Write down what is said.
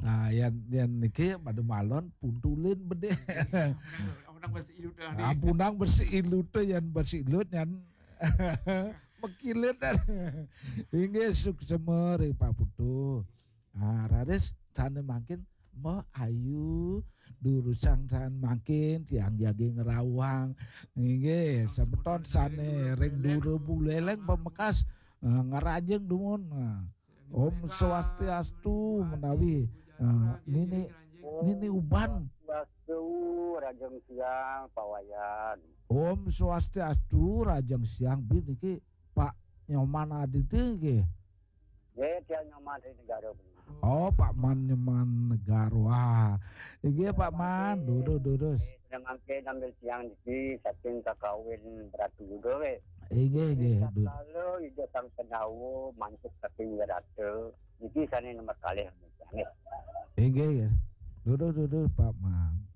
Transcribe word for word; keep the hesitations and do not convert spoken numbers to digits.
Nah, yan yan niki pada malon puntulin bedé. Orang bersih udah Ampunang bersih ilut yan bersih ilut yan mekilit. Inggih suksema ring Pak Putu. Ah, raris sané mangkin Mbok Ayu durusang sané mangkin tiang jagi ngrawang. Inggih semeton sané ring dura Buleleng pamekas eh, ngrajeng dumun. Nah. Om Swastiastu menawi eh, nini nini uban. Swastiastu, Rajeng Siang, Pak Wayan. Om Swastiastu, Rajeng Siang. Bin niki Pak Nyoman Aditya nggih. Nggih, tiang Nyoman dari negara. Oh, Pak Man Nyoman Negara. Wah. Inggih Pak Man, durus durus. Sedang mangke nambil siang niki saking kakawin beratu juga weh. Inggih nggih. Kalau ida sang pendawa mantuk saking rata. Niki sané nomor kalih nggih. Inggih nggih. Durus durus Pak Man.